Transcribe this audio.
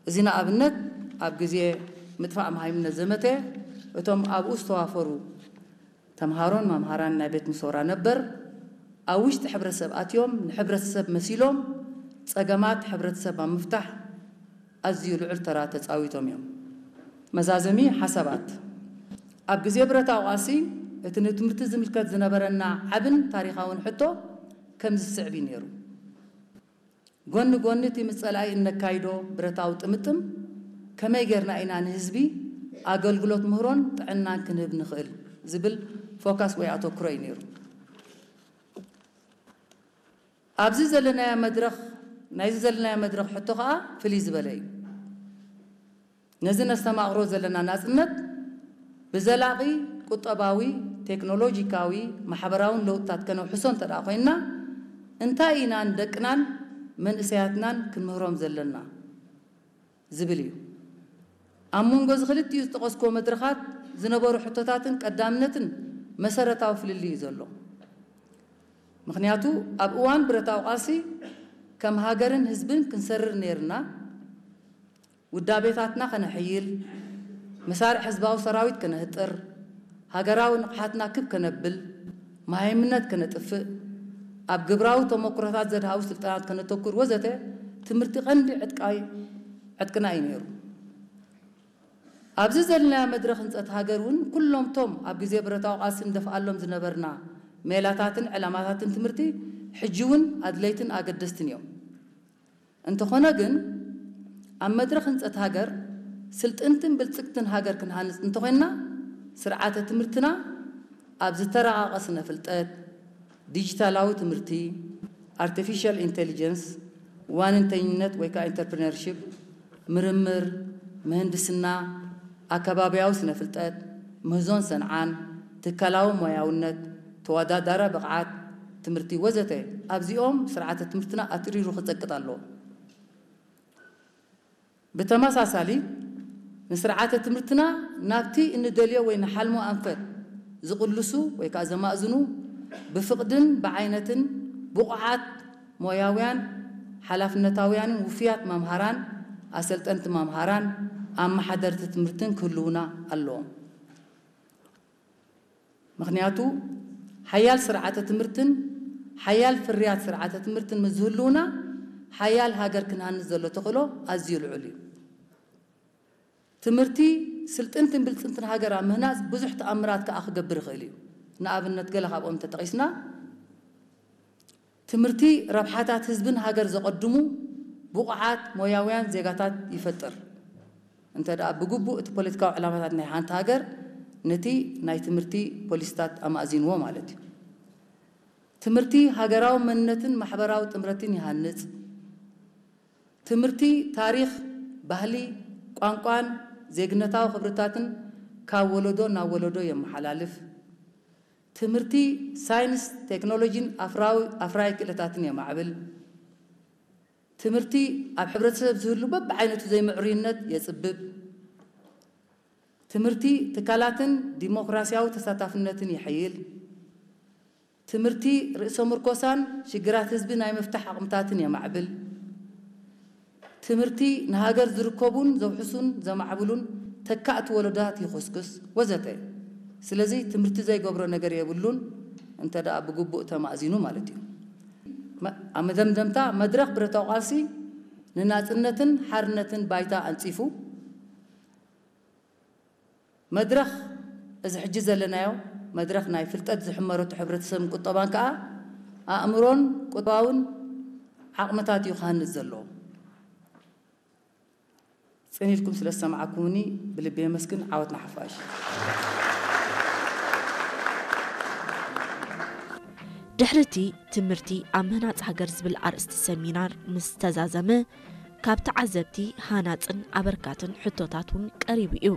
እዚ ንኣብነት ኣብ ግዜ ምጥፋእ መሃይምነት ዘመተ እቶም ኣብኡ ዝተዋፈሩ ተምሃሮን መምሃራን ናይ ቤት ምሶራ ነበር ኣብ ውሽጢ ሕብረተሰብ ኣትዮም ንሕብረተሰብ መሲሎም ጸገማት ሕብረተሰብ ኣብ ምፍታሕ ኣዝዩ ልዑል ተራ ተጻዊቶም እዮም። መዛዘሚ ሓሳባት። ኣብ ግዜ ብረታዊ ቃልሲ እቲ ንትምህርቲ ዝምልከት ዝነበረና ዓብን ታሪኻውን ሕቶ ከምዚ ዝስዕብ እዩ ነይሩ። ጎኒ ጎኒ እቲ ምስ ጸላኢ እነካይዶ ብረታዊ ጥምጥም ከመይ ጌርና ኢና ንህዝቢ ኣገልግሎት ምህሮን ጥዕናን ክንህብ ንኽእል ዝብል ፎካስ ወይ ኣተኩሮ እዩ ነይሩ። ኣብዚ ዘለናዮ መድረኽ ናይዚ ዘለናዮ መድረኽ ሕቶ ኸኣ ፍልይ ዝበለ እዩ። ነዚ ነስተማቕሮ ዘለና ናጽነት ብዘላቒ ቁጠባዊ፣ ቴክኖሎጂካዊ፣ ማሕበራውን ለውጥታት ከነውሕሶ እንተ ደኣ ኮይንና እንታይ ኢና ንደቅናን መንእሰያትናን ክንምህሮም ዘለና ዝብል እዩ። ኣብ መንጎ እዚ ክልቲኡ ዝጠቐስኩዎ መድረኻት ዝነበሩ ሕቶታትን ቀዳምነትን መሰረታዊ ፍልልይ እዩ ዘሎ። ምኽንያቱ ኣብ እዋን ብረታዊ ቃልሲ ከም ሃገርን ህዝብን ክንሰርር ነይርና ውዳቤታትና ከነሕይል፣ መሳርዕ ህዝባዊ ሰራዊት ከነህጥር፣ ሃገራዊ ንቕሓትና ክብ ከነብል፣ መሃይምነት ከነጥፍእ፣ ኣብ ግብራዊ ተመኩሮታት ዘድሃቡ ስልጠናት ከነተኩር ወዘተ ትምህርቲ ቀንዲ ዕጥቃይ ዕጥቅና እዩ ነይሩ። ኣብዚ ዘለናዮ መድረኽ ህንጸት ሃገር እውን ኩሎም ቶም ኣብ ግዜ ብረታዊ ቃልሲ ንደፍኣሎም ዝነበርና ሜላታትን ዕላማታትን ትምህርቲ ሕጂ እውን ኣድለይትን ኣገደስትን እዮም። እንተኾነ ግን ኣብ መድረኽ ህንጸት ሃገር ስልጥንትን ብልጽግትን ሃገር ክንሃንጽ እንተኾይንና ስርዓተ ትምህርትና ኣብ ዝተራቐቐ ስነ ፍልጠት፣ ዲጂታላዊ ትምህርቲ፣ ኣርቲፊሻል ኢንቴሊጀንስ፣ ዋንንተኝነት ወይ ከዓ ኢንተርፕረነርሺፕ፣ ምርምር፣ ምህንድስና፣ ኣከባብያዊ ስነ ፍልጠት፣ ምህዞን ሰንዓን፣ ትካላዊ ሞያውነት፣ ተወዳዳሪ ብቕዓት ትምህርቲ ወዘተ ኣብዚኦም ስርዓተ ትምህርትና ኣትሪሩ ክጸቅጥ ኣለዎ። ብተመሳሳሊ ንስርዓተ ትምህርትና ናብቲ እንደልዮ ወይ ንሓልሞ ኣንፈት ዝቕልሱ ወይ ከዓ ዘማእዝኑ ብፍቕድን ብዓይነትን ብቑዓት ሞያውያን ሓላፍነታውያንን ውፍያት መምሃራን ኣሰልጠንቲ መምሃራን ኣመሓደርቲ ትምህርትን ክህልውና ኣለዎም። ምኽንያቱ ሓያል ስርዓተ ትምህርትን ሓያል ፍርያት ስርዓተ ትምህርትን ምስ ዝህልውና ሓያል ሃገር ክንሃንጽ ዘሎ ተኽእሎ ኣዝዩ ልዑል እዩ። ትምህርቲ ስልጥንትን ብልጽንትን ሃገር ኣብ ምህናጽ ብዙሕ ተኣምራት ከኣ ክገብር ይኽእል እዩ። ንኣብነት ገለ ካብኦም እንተጠቒስና ትምህርቲ ረብሓታት ህዝብን ሃገር ዘቐድሙ ብቑዓት ሞያውያን ዜጋታት ይፈጥር። እንተ ደኣ ብግቡእ እቲ ፖለቲካዊ ዕላማታት ናይ ሓንቲ ሃገር ነቲ ናይ ትምህርቲ ፖሊሲታት ኣማእዚንዎ ማለት እዩ። ትምህርቲ ሃገራዊ መንነትን ማሕበራዊ ጥምረትን ይሃንጽ። ትምህርቲ ታሪኽ፣ ባህሊ፣ ቋንቋን ዜግነታዊ ክብርታትን ካብ ወለዶ ናብ ወለዶ የመሓላልፍ። ትምህርቲ ሳይንስ፣ ቴክኖሎጂን ኣፍራዊ ኣፍራይ ክእለታትን የማዕብል። ትምህርቲ ኣብ ሕብረተሰብ ዝህሉ በብዓይነቱ ዘይምዕሩይነት የጽብብ። ትምህርቲ ትካላትን ዲሞክራሲያዊ ተሳታፍነትን የሐይል። ትምህርቲ ርእሰ ምርኮሳን ሽግራት ህዝቢ ናይ ምፍታሕ ዓቕምታትን የማዕብል። ትምህርቲ ንሃገር ዝርከቡን ዘውሕሱን ዘማዕብሉን ተካእቲ ወለዶታት ይኹስኩስ ወዘተ። ስለዚ ትምህርቲ ዘይገብሮ ነገር የብሉን እንተ ደኣ ብግቡእ ተማእዚኑ ማለት እዩ። መ- ኣብ መደምደምታ መድረኽ ብረታዊ ቃልሲ ንናጽነትን ሓርነትን ባይታ ኣንጺፉ መድረኽ እዚ ሕጂ ዘለናዮ መድረኽ ናይ ፍልጠት ዝሕመረቱ ሕብረተሰብን ቁጠባን ከኣ ኣእምሮን ቁጠባውን ዓቕምታት እዩ ክሃንጽ ዘለዎ። ጽን ኢልኩም ስለ ዝሰማዕኩምኒ ብልቢ የመስግን። ዓወት ንሓፋሽ። ድሕሪ እቲ ትምህርቲ ኣብ ምህናጽ ሃገር ዝብል ኣርእስቲ ሰሚናር ምስ ተዛዘመ ካብ ተዓዘብቲ ሃናጽን ኣበርካትን ሕቶታት እውን ቀሪቡ እዩ።